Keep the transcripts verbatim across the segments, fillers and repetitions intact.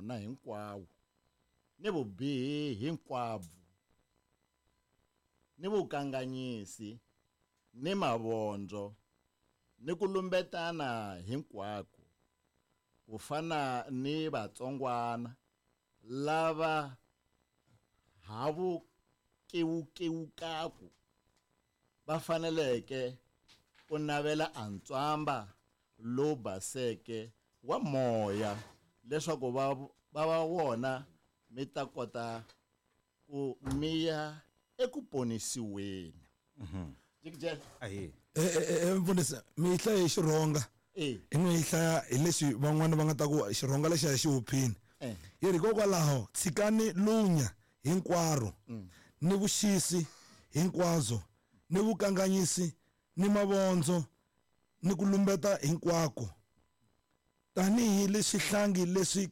mona hinkwawo ni vubihi hinkwabyo ni vukanganyisi ni mavondzo ni ku lumbetana hinkwako ku fana ni vatsongwana lava havukiwukiwukaku va faneleke ku navela antswamba lowu baseke wa moya leswaku va va va wona mi ta kota ku miya eku ponisiweni. Jikijela ahe eh eh mfundisi mi hlaya hi Xirhonga eh i n'wi hlaya hi leswi van'wana va nga ta ku Xirhonga lexi a xi huphini eh yi ri hikokwalaho tshikani lunya hinkwaro ni vuxisi hinkwabyo ni vukanganyisi ni mavondzo ni ku lumbeta hinkwako tanihi leswihlangi leswi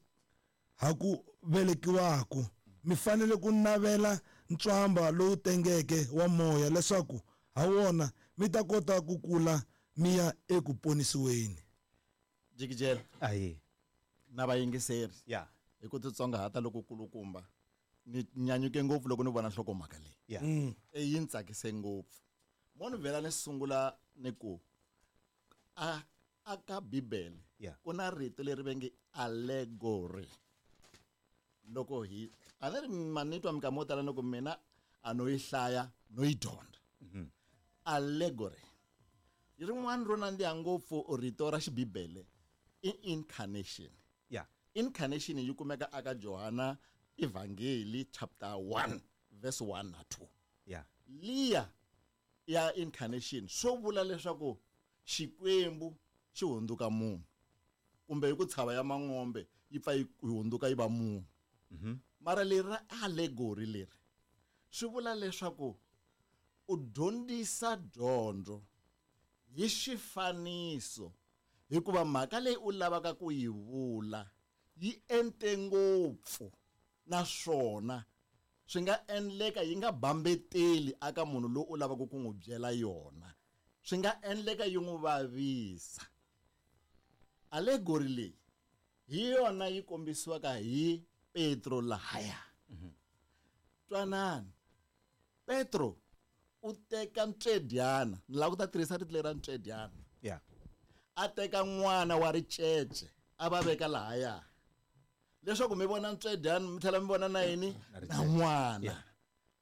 ha ku velekiwaka mi fanele ku navela ntswamba lowu tengeke wa moya leswaku ha wona mi ta kota ku kula mi ya eku ponisiweni. Jikijela ahe na vayingiseri ya hi ku titsongahata loko kulukumba ni nyanyuke ngopfu loko ni vona nhlokomhaka leyi ya e yi ni tsakise ngopfu mo ni vhela ni sungula ni ku a a ka Bibele Yeah. ku na rito leri va nge allegory loko hi a ni ri ma ni twa minkama yo tala ni ku mina a no yi hlaya no yi dyondza allegory rin'wana ro nandziha ngopfu rito ra xibibele i incarnation ya incarnation yi kumeka aka Johana Evangeli chapter one verse one na two ya liya ya incarnation swo vula leswaku Xikwembu xi hundzuka munhu kumbe hi ku tshava ya mang'ombe yi pfa yi hundzuka yi va munhu mara leri ra allegory leri swi vula leswaku u dyondzisa dyondzo hi xifaniso hikuva mhaka leyi u lavaka ku yi vula yi ente ngopfu naswona swi nga endleka yi nga bambeteli aka munhu loyi u lavaka ku n'wi byela yona swi nga endleka yi n'wi vavisa. Allegory leyi hi yona yi kombisiwaka hi Petro lahaya. Twanani Petro u teka ntswedyana ni lava ku ta tirhisa rito leri ra ntswedyana ya a teka n'wana wa ricece a va veka lahaya leswaku mi vona ntswedyana mi tlhela mi vona na yini na n'wana Yeah.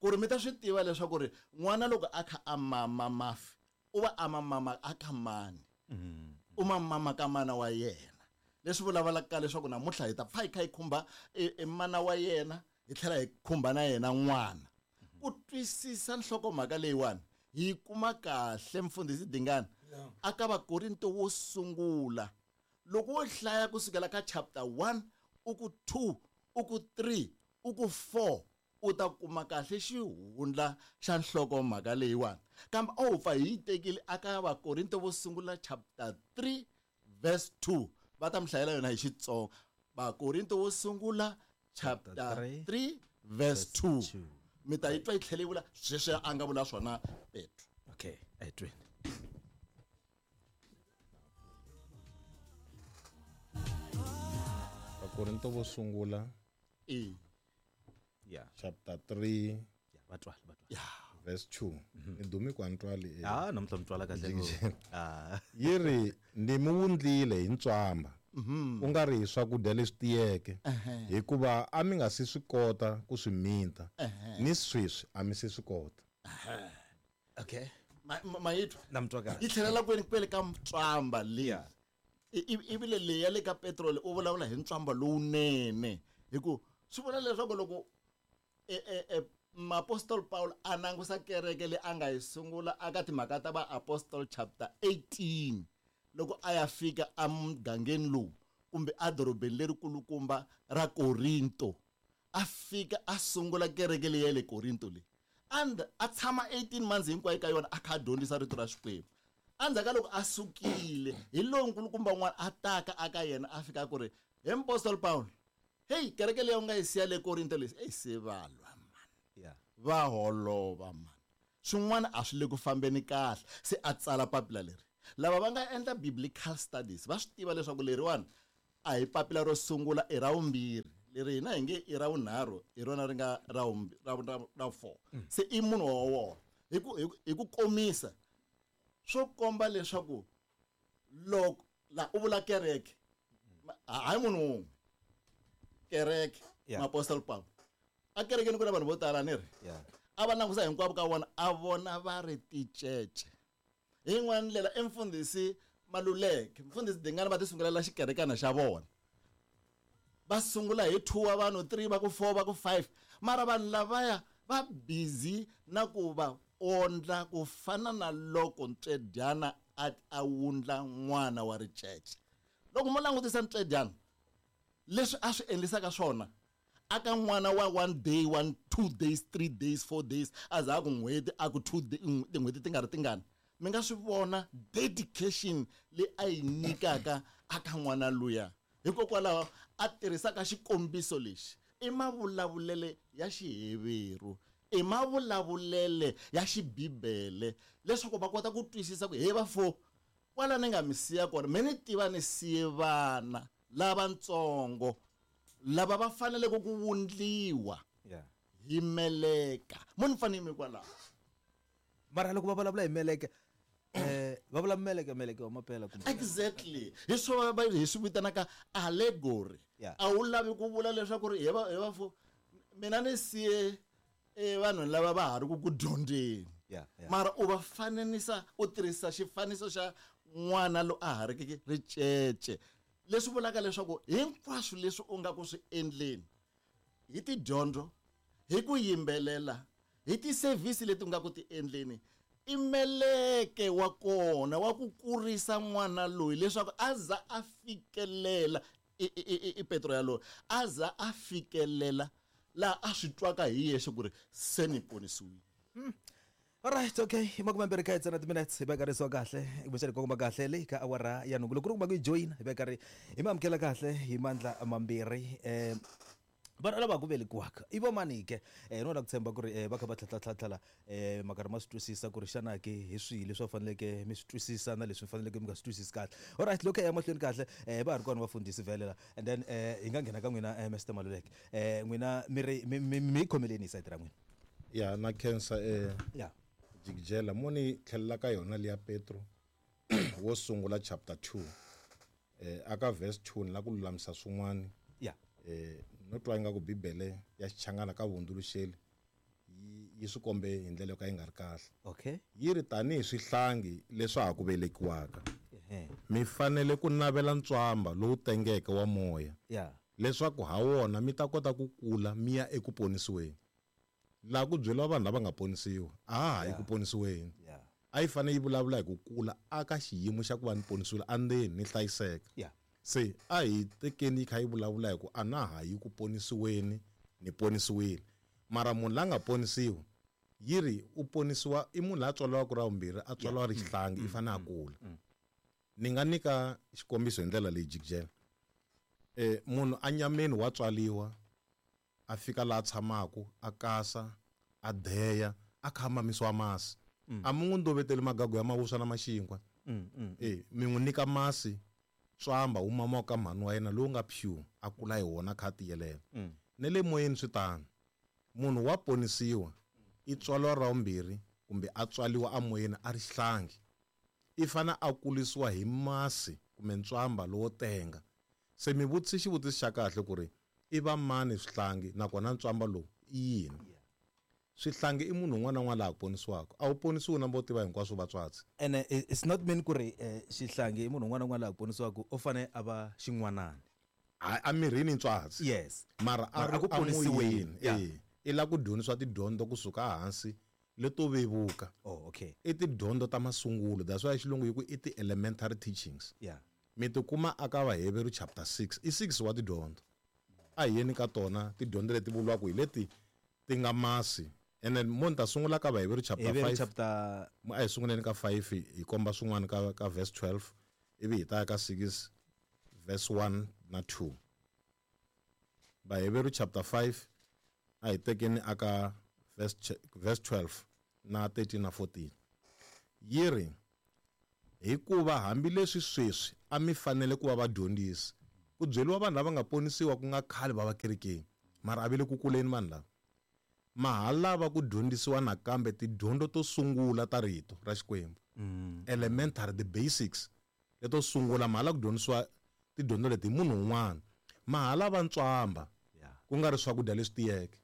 ku ri mi ta swi tiva leswaku ri n'wana loko a kha a mama mafi u va a mama a ka mani u ma mama ka mana wa yena leswi vulavulaka leswaku namuntlha hi ta pfa hi kha hi khumba e, e mana wa yena hi tlhela hi khumba na yena n'wana ku twisisa nhlokomhaka leyiwani hi kuma kahle mfundhisi Dingana aka Vakorinto wo sungula loko wo hlaya kusukela ka chapter one u ku two u ku three u ku four u ta kuma kahle xihundla xa nhlokomhaka leyiwani kambe a wu pfa hi yi tekile aka Vakorinto vo sungula chapter three verse two va ta mi hlayela yona hi Xitsonga Vakorinto wo sungula chapter three verse two mi ta yi twa yi tlhela yi vula sweswi a nga vula swona Petro. Okay a hi tweni. Vakorinto vo sungula e ya chapter three ya va twala va twala verse two ni dumi ku a ni twali eh. ah namuntlha mi twala kahle ngopfu. Ah yi ri ni mi wundlile hi ntswamba ku nga ri hi swakudya leswi tiyeke hikuva a mi nga si swi kota ku swi minta ni sweswi a mi se swi kota. Okay ma yi twa na mi twa kahle yi tlhelela kwini kwele ka ntswamba leyi Yeah. ivile leyi ya le ka Petro u vulavula hi ntswamba lowunene hi ku swi vula leswaku loko e, e, e, Apostol Paul a langusa kereke leyi a nga yi sungula aka timhaka ta va Apostol chapter eighteen loko a ya fika emugangeni lowu kumbe edorobeni lerikulukumba ra Korinto a fika a sungula kereke leyi ya le Korinto leyi and a tshama eighteen months hinkwayo ka yona a kha a dyondzisa rito ra Xikwembu endzhaku ka loko a sukile hi lowu nkulukumba un'wana a taka aka yena a fika ku ri he Apostol Paul hey kereke leyi u nga yi siya le Korinto leyi eyi se va lwa mani yeah va holova mani swin'wana a swi le ku fambeni kahle se a tsala papila leri lava va nga endla biblical studies va swi tiva leswaku leriwani a hi papila ro sungula i ra vumbirhi Leri hina hi nge i ra vunharhu hi rona ri nga ra ra ra four. Se i munhu wa wona. Hi ku hi ku komisa swo komba leswaku loko la u vula kereke hayi munhu wun'we kereke Apostle Paul a kerekeni ku na vanhu vo tala ni ri a va langusa hinkwavo ka vona a vona va ri ticece. Hi yin'wana ndlela i mfundhisi Maluleke mfundhisi Dingane va ti sungulela xikerekana xa vona. Va sungula hi two wa vanhu three va ku four va ku five mara vanhu lavaya va busy na ku va ondla ku fana na loko ntswedyana a a wundla n'wana wa ricece. Loko mo langutisa ntswedyana leswi a swi endlisaka swona aka n'wana wa one day one two days three days four days a za ku n'hweti a ku two tin'hweti ti nga ri tingani mi nga swi vona dedication leyi a yi nyikaka aka n'wana luya. Hikokwalaho a tirhisaka xikombiso lexi i mavulavulele ya Xiheveru i mavulavulele ya xibibele leswaku va kota ku twisisa ku he va fo kwala ni nga mi siya kona me ni tiva ni siye vana lavatsongo lava va faneleke ku wundliwa hi meleka mo ni fanele mi kwalaho. Mara loko va vulavula hi meleke eh va vula meleke meleke wa mapela kumbe exactly hi swo va hi swi vitanaka allegory. A wu lavi ku vula leswaku ri he va he va fo mina ni siye e vanhu lava va ha ri ku ku dyondzeni mara u va fananisa u tirhisa xifaniso xa n'wana loyi a ha ri ricece leswi vulaka leswaku hinkwaswo leswi u nga ku swi endleni hi tidyondzo hi ku yimbelela hi ti-service leti u nga ku ti endleni i meleke wa kona wa ku kurisa n'wana loyi leswaku a za a fikelela i Petro yaloye a za a fikelela laha a swi twaka hi yexe ku ri se ni ponisiwile. Alright, okay. Makume mbirhi ka ntsena minutes hi veka risiwa kahle kumbexana kongoma kahle leyi ka awara ya nhungu loko ri kuma ku yi joyina hi veka ri hi mi amukela kahle hi mandla mambirhi um vanhu lava ku velekiwaka i vamani ke eh no la ku tshemba ku ri va kha va tlhatlhatlhatlhala eh makarhi ma swi twisisa ku ri xana ke hi swihi leswi va faneleke mi swi twisisa na leswi faneleke mi nga swi twisisi kahle. Alright, loko ya mahlweni kahle eh va ha ri kona vafundhisi vhelela and then eh hi nga nghena ka n'wina Mister Maluleke eh n'wina mi ri mi khomeleni hi sayiti ra n'wina. Ya na khensa eh ya jikijela mo ni tlhelela ka yona liya Petro wo sungula chapter two eh aka verse two ni la ku lulamisa swin'wana ya eh no twa ingaku Bibele ya Xichangana ka vuhundzuluxeli yi swi kombe hi ndlela yo ka yi nga ri kahle. Okay. Yi ri tanihi swihlangi leswa ha ku velekiwaka mi fanele ku navela ntswamba lowu tengeke wa moya yeah leswaku ha wona mi ta kota ku kula mi ya eku ponisiweni. Laha ku byeriwa vanhu lava nga ponisiwa a ha yi ku ponisiweni a yi fanele yi vulavula hi ku kula aka xiyimo xa ku va ni ponisiwile andzeni ni hlayiseka. Se a hi tekeni yi kha yi vulavula hi ku a na ha yi ku ponisiweni ni ponisiwile mara munhu la nga ponisiwa yi ri u ponisiwa i munhu la tswariwaka ra vumbirhi a tswariwa ri xihlangi i fanele a kula. Ni nga nyika xikombiso hi ndlela leyi jikijela eh munhu a nyameni wa tswaliwa a fika laha tshamaka a kasa a deya a kha mamisiwa masi a mi n'wi ndoveteli magagu ya mavuswa na maxinkwa eh mi n'wi nyika masi tswamba wu mama ka mhani wa yena lowu nga pure a kula hi wona kha tiyelela. Ne le moyeni swi tano munhu wa ponisiwa i tswaliwa ra vumbirhi kumbe a tswaliwa amoyeni a ri xihlangi i fana a kulisiwa hi masi kumbe ntswamba lowo tenga. Se mi vutisi xivutiso xa kahle ku ri i va mani swihlangi nakona ntswamba lowu i yini. Swihlangi i munhu un'wana na un'wana laha ku ponisiwaka a wu ponisiwi na vo tiva hinkwaswo vatswatsi. And it's not mean ku ri xihlangi i munhu un'wana na un'wana laha ku ponisiwaka u fanele a va xin'wanani a mirini ntswatsi yes mara a ri ku ponisiweni eh i la ku dyondzisiwa tidyondzo kusuka hansi leto vevuka. Oh okay i tidyondzo ta masungulo that's why xilungu yi ku i ti-elementary teachings. Yeah mi tikuma aka Vaheveru chapter six i six wa tidyondzo a hi yeni ka tona tidyondzo leti vuriwaka hi leti ti nga masi. And then mo ni ta sungula ka Vaheveru chapter five chapter a hi sunguleni ka five hi komba swin'wana ka ka verse twelve ivi hi ta ya ka six verse one na two. Vaheveru chapter five a hi tekeni aka verse verse twelve na thirteen na fourteen yi ri hikuva hambileswi sweswi a mi fanele ku va vadyondzisi Ku byeriwa vanhu lava nga ponisiwa ku nga khale va va kerekeni mara a ve le ku kuleni vanhu lava. Ma ha lava ku dyondzisiwa nakambe tidyondzo to sungula ta rito ra Xikwembu. Mm. Elementary, the basics leto sungula ma ha lava ku dyondzisiwa tidyondzo leti hi munhu un'wana. Ma ha lava ntswamba ku nga ri swakudya leswi tiyeke.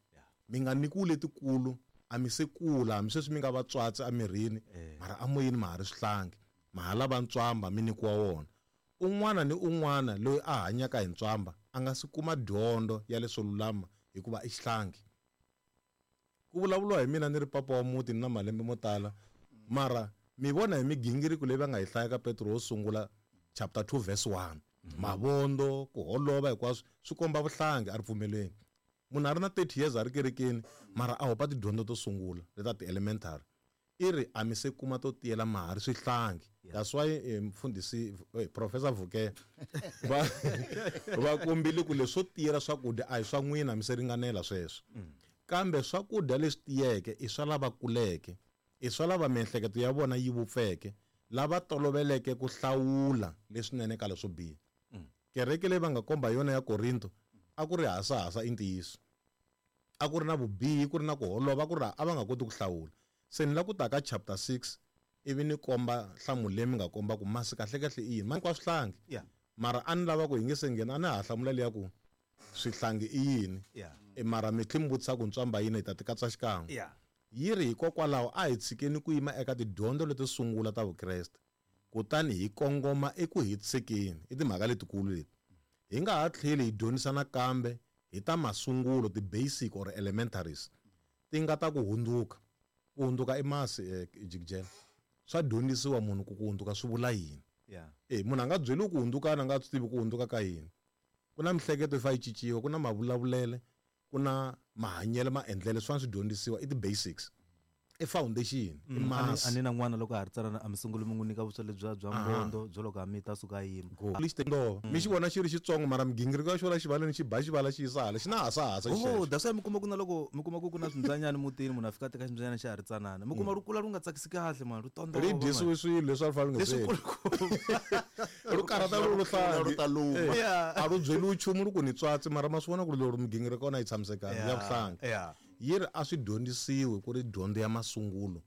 Mi nga nyikiwi letikulu, a mi se kula, hambi sweswi mi nga vatswatsi emirini, mara amoyeni ma ha ri swihlangi. Ma ha lava ntswamba mi nyikiwa wona. Un'wana ni un'wana loyi a hanyaka hi ntswamba a nga si kuma dyondzo ya leswo lulama hikuva i xihlangi. Ku vulavuriwa hi mina ni ri papa wa muti ni na malembe mo tala, mara mi vona hi migingiriko leyi va nga yi hlaya ka Petro wo sungula chapter two verse one. Mavondo, ku holova hinkwaswo swi komba vuhlangi a ri pfumeleni. Munhu a ri na thirty years a ri kerekeni mara a hopa tidyondzo to sungula leta ti-elementary. I ri a mi se kuma to tiyela ma ha ri swihlangi. That's why eh, mfundhisi eh, Professor Vuke va va kombile ku leswo tiyela swakudya a hi swa n'wina mi se ringanela sweswo. Kambe swakudya leswi tiyeke i swa lava kuleke, i swa lava miehleketo ya vona yi vupfeke, lava toloveleke ku hlawula leswinene ka leswo biha. Kereke leyi va nga komba yona ya Korinto a ku ri hasahasa i ntiyiso. A ku ri na vubihi, ku ri na ku holova, ku ri a va nga koti ku hlawula. Se ni la ku ta ka chapter six ivi ni komba nhlamulo leyi mi nga komba ku masi kahlekahle i yini. Ma hinkwaswo swihlangi. Yeah. Mara a ni lava ku hi nge se nghena, a ni ha hlamula liya ku swihlangi i yini. Yeah. E mara mi tlhe mi vutisa ku ntswamba yini hi ta ti katsa xikan'we. Yeah. Yi ri hikokwalaho a hi tshikeni ku yima eka tidyondzo leto sungula ta Vukreste, kutani hi kongoma eku hetisekeni. I timhaka letikulu leti. Hi nga ha tlheli hi dyondzisa nakambe hi ta masungulo, ti-basic or elementaries, ti nga ta ku hundzuka. Ku hundzuka i masi, eh, jikijela. Swa dyondzisiwa munhu ku ku hundzuka swi vula yini. Yeah. Eh, munhu a nga byeriwi ku hundzuka a nga swi tivi ku hundzuka ka yini. Ku na mihleketo yi fanele yi cinciwa, ku na mavulavulele, ku na mahanyelo, maendlelo, swi fanele swi dyondzisiwa. I ti-basics, i foundation, i Mm, a ni- masi. a ni na n'wana loko a ha ri tsanana, a mi sunguli mi n'wi nyika vuswa lebyiya bya Aha. mbondo byo loko a mita a suka a yima. Go. Lexi tendova. Mi xi vona xi ri xitsongo mara migingiriko ya xona xivaleni xi ba xivala xi yisa hala, xi na hasahasa Oh, xexo. that's why mi kuma ku na loko mi kuma ku ku na swimbyanyana mutini, munhu a fika a teka ximbyanyana xa ha ri tsanana. Mi kuma ri kula ri nga tsakisi kahle, man, ri tondova, Ri man. dyisiwe swilo leswi a ri fanele Leswi swi. kulukumba. Ri karhata ri luhlangi. Ri ta luma. Eh, Yeah. a ri byeliwi nchumu ri ku ni tswatsi, mara ma swi vona ku ri lero migingiriko ya kona yi tshamisekanga, ya Yeah, vuhlangi. yeah. Yi ri a swi dyondzisiwi ku ri dyondzo ya masungulo,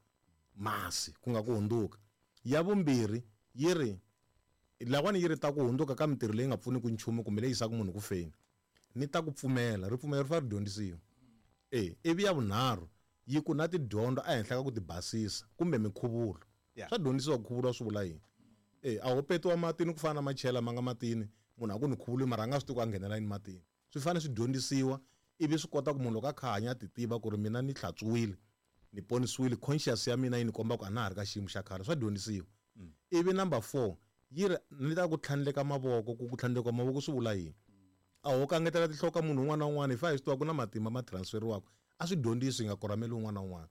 masi, ku nga ku hundzuka. Ya vumbirhi yi ri lawani yi ri ta ku hundzuka ka mintirho leyi nga pfuniki nchumu kumbe leyi yisaka munhu ku feni. Ni ta ku pfumela, ripfumelo ri fanele ri dyondzisiwa. Eh, ivi ya vunharhu yi ku na tidyondzo ehenhla ka ku tibasisa kumbe minkhuvulo. Yeah. Swa dyondzisiwa ku khuvuriwa swi vula yini. Eh, a ho petiwa matini ku fana na machela ma nga matini, munhu a ku ni khuvuriwi mara a nga swi tivi ku a nghenela yini matini. Swi fanele swi dyondzisiwa ivi swi kota ku munhu loko a kha a hanya a ti tiva ku ri mina ni hlantswiwile, ni ponisiwile, conscious ya mina yi ni komba ku a na ha ri ka xiyimo xa khale, swa dyondzisiwa. Ivi number four yi ri ni ta ku tlhandleka mavoko, ku ku tlhandleka mavoko swi vula yini. A ho kangetela tinhloko ka munhu un'wana na un'wana, hi fanele hi swi tiva ku na matimba ma transferiwaka, a swi dyondzisi hi nga korhameli un'wana na un'wana.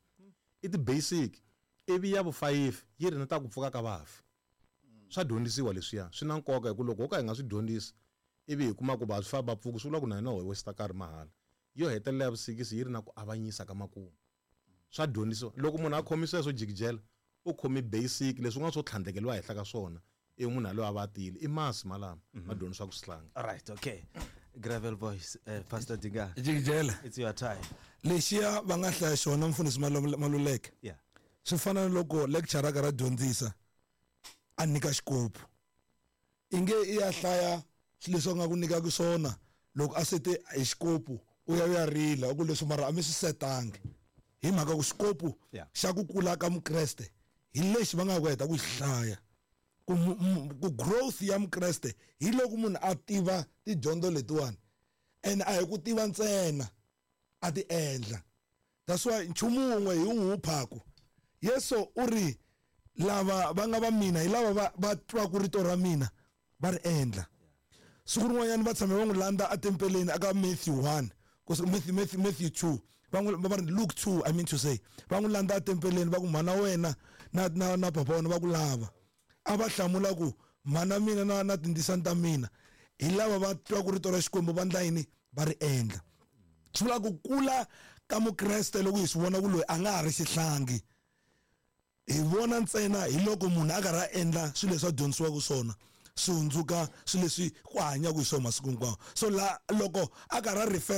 I ti-basic. Ivi ya vu-five yi ri ni ta ku pfuka ka vafi. Swa dyondzisiwa leswiya, swi na nkoka hi ku loko ho ka hi nga swi dyondzisi ivi hi kuma ku va swi famba pfuki, swi vula ku na hina ho waste nkarhi mahala. Yo hetelela ya vusikisi yi ri na ku avanyisa ka makumu. Swa dyondzisiwa. Loko munhu a khomi sweswo jikijela, u khomi basic leswin'wana swo tlhandlekeriwa henhla ka swona, i munhu yaloye a va a tiyile. I masi malama ma dyondzisiwaka swihlangi. All right, okay. Gravel Boys, uh, Pastor Dinga. Jikijela. It's your time. Lexiya va nga hlaya xona mfundhisi Malule-, Maluleke. Yeah. Swi fana na loko lecturer a karhi a dyondzisa a nyika xikopu. Inge i ya hlaya swilo leswi a nga ku nyikaka swona, loko a sete hi xikopu u ya u ya rila, u ku leswi mara a mi swi setangi. Hi mhaka ku xikopu Yeah. xa ku kula ka Mukreste hi lexi va nga ku heta ku xi hlaya. Ku mu-, mu-, ku growth ya Mukreste hi loko munhu a tiva tidyondzo letiwani, and a hi ku tiva ntsena, a ti endla. That's why nchumu wun'we hi wu phaku. Yesu u ri lava va nga va mina hi lava va, va twaku rito ra mina va ri endla. Siku rin'wanyana va tshame va n'wi landza etempeleni aka Matthew one, ku se Matthew, Matthew, Matthew two, va n'wi, va ri Luke two, I mean to say, va n'wi landza etempeleni va ku mhana wena na, na, na papa wena va ku lava. A va hlamula ku mhana mina na, na tindzisana ta mina hi lava va twaku rito ra Xikwembu va endla yini, va ri endla. Swi vula ku kula ka Mukreste loko hi swi vona ku loyi a nga ha ri xihlangi, hi vona ntsena hi loko munhu a karhi a endla swilo leswi a dyondzisiwaka swona. swi hundzuka swilo leswi ku hanyaka hi swona masiku hinkwawo. So la loko a karhi a refer